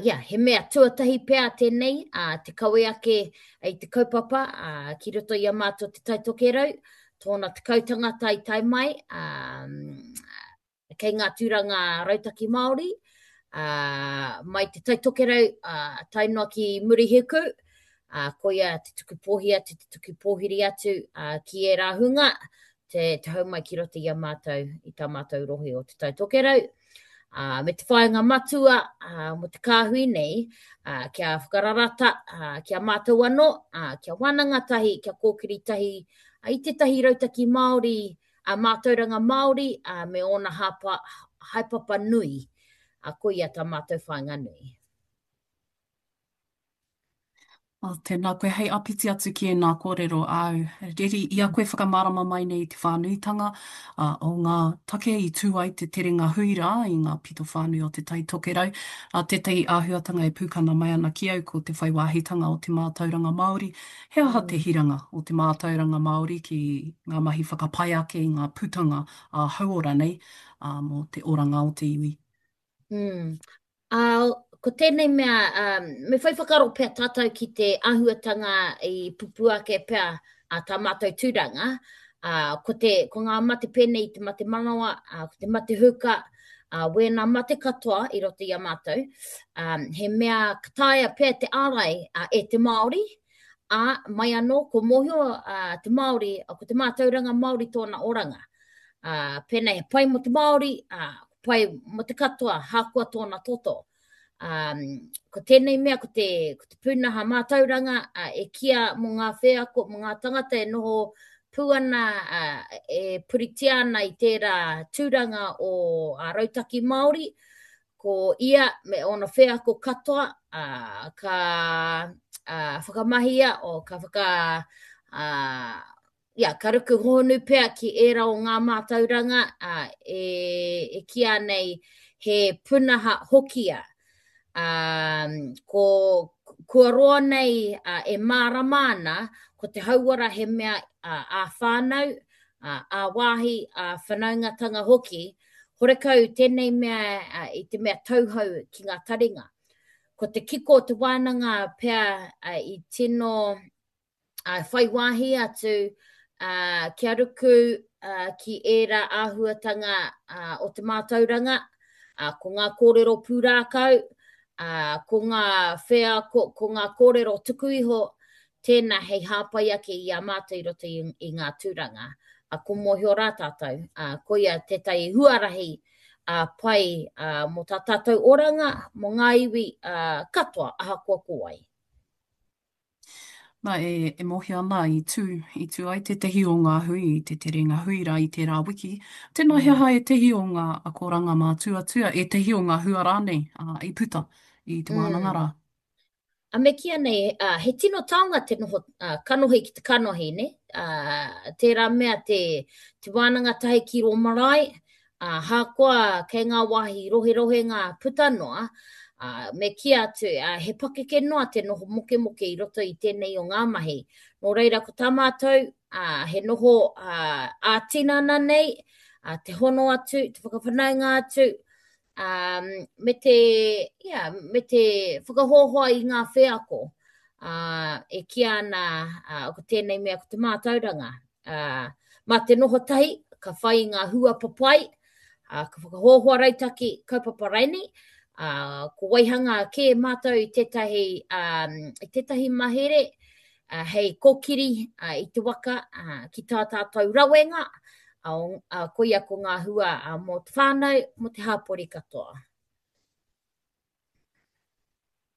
yeah, he mea tuatahi pea tēnei, ā, te kawe ake i te kaupapa, ā, ki roto i a mātou Te Tai Tokerau, tōna 10 tangata i tae mai, ā, kei ngā tūranga rautaki Māori, ā, mai Te Tai Tokerau, ā, tae noa ki Murihiku, ā, koia te tuku pōhi atu, te tuku pōhiri atu, ā, ki ērā hunga, te, te hau mai ki roto i a mātou, i tā mātou rohe o Te Tai Tokerau. Ā, me te whāinga matua ā, mō te kāhui nei, ā, kia whakararata, ā, ki a mātou anō, ā, kia wānanga tahi, kia kōkiri tahi ā, i tētahi rautaki Māori, ā, mātauranga Māori, ā, me ōna hāpa, haepapa nui. Ā, koia tā mātou whāinga nui. Oh, tēnā koe, hei āpiti atu ki ēnā kōrero āu. Reri, i a koe whakamārama mai nei i te whānuitanga ā, o ngā take i tū ai te terenga hui rā i ngā pito whānui o Te Tai Tokerau, ā, tētahi āhuatanga e pūkana mai ana ki au ko te whai wāhitanga o te mātauranga Māori. He aha te hiranga o te mātauranga Māori ki ngā mahi whakapai ake i ngā putanga ā-hauora nei, ā, mō te oranga o te iwi? Mm. Ā, ko tēnei mea, ā, me whai whakaaro pea tātou ki te āhuatanga i pupū ake pea ā tā mātou tūranga, ā, ko te, ko ngā mate pēnei i te mate manawa, ā, ko te mate huka, ā, wēnā mate katoa i roto i a mātou, ā, he mea ka taea pea te ārai ā, e te Māori, ā, mai anō, ko mōhio ā, te Māori, ko te mātauranga Māori tōna oranga. Ā, pēnei he pai mō te Māori, ā, pai mō te katoa, hākoa tōna toto. Um, ko tēnei mea, ko te, ko te pūnaha mātauranga uh, e kia mō ngā wheako, mō ngā tangata e noho pū ana, uh, e puritia ana i tērā tūranga o a Rautaki Māori, ko ia me ōna wheako katoa, uh, ka uh, whakamahia, o, ka whaka, uh, ia, ka ruku hōhonu pea ki ērā o ngā mātauranga ā, e, e kīa nei he punaha hokia. Ā, ko, kua roa nei ā, e mārama ana ko te hauora he mea ā, ā-whānau, ā, ā-wāhi, ā-whanaungatanga hoki, horekau tēnei mea ā, i te mea tauhou ki ngā taringa. Ko te kiko o te wānanga pea ā, i tino uh, whai wāhi atu uh, kia ruku uh, ki ērā āhuatanga uh, o te mātauranga, uh, ko ngā kōrero pūrākau, uh, ko ngā wheako, ko ngā kōrero tuku iho, tēnā hei hāpai ake i a mātou i roto i, i ngā tūranga. Uh, ko mōhio rā tātou, uh, koia tētahi huarahi uh, pai uh, mō tā tātou oranga, mō ngā iwi uh, katoa, ahakoa ko wai. Nā, e, e mōhio ana i tū, i tū ai tētahi o ngā hui i te terenga hui rā i tērā wiki. Tēnā he aha ētahi o ngā akoranga mātuatua, ētahi o ngā hua rānei, ā, i puta i te wānanga rā? A me kīia nei, ā, he tino taonga te noho ā, kanohi ki te kanohi, nē? Ā, tērā mea te, te wānanga tahi ki rō marae, Ā, ahakoa kei ngā wāhi roherohenga puta noa, ā, me kī atu, ā, he pakeke noa te noho mokemoke i roto i tēnei o ngā mahi. Nō reira, ko tā mātou, ā, he noho ā, ā-tinana nei, ā, te hono atu, te whakawhanaunga atu, ā, me te, ia, me te whakahoahoa i ngā wheako, ā, e kīia ana, ā, ko tēnei mea ko te mātauranga. Ā, mā te noho tahi, ka whai i ngā hua papai, ā, ka whakahoahoa rautaki, kaupapa raini, ā, ko waihanga kē mātou i tētahi, ā, i tētahi mahere, ā, hei kōkiri, ā, i te waka, ā, ki tā tātou rawenga, ā, ā, koia ko ngā hua, ā, mō te whānau, mō te hāpori katoa.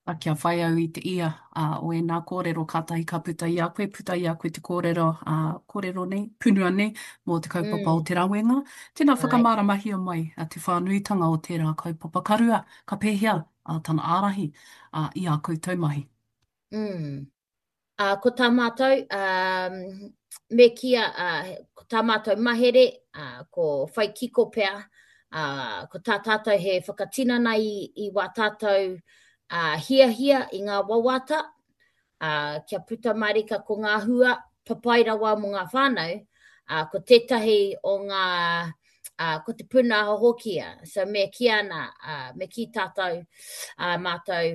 A kia whai au i te ia a, o ēnā kōrero kātahi ka puta i a koe, puta i a koe te kōrero, a, kōrero nei, punua nei, mō te kaupapa o te rawenga. Tēnā whakamāramahia mai a, te whānuitanga o tērā kaupapa. Ka rua, ka pēhea a, tana ārahi a, i ā koutou mahi? Mm. Ā, ko tā mātou, ā, me kīia, ā, ko tā mātou mahere, ā, ko whai kiko pea, ā, ko tā tātou he whakatinana i, i wā tātou, ā, hiahia i ngā wawata, ā, kia puta mārika ko ngā hua papai rawa mō ngā whānau, ā, ko tētahi o ngā, ā, ko te pūnaha hoki, ā, so me kī ana, ā, me kī tātou, ā, mātou.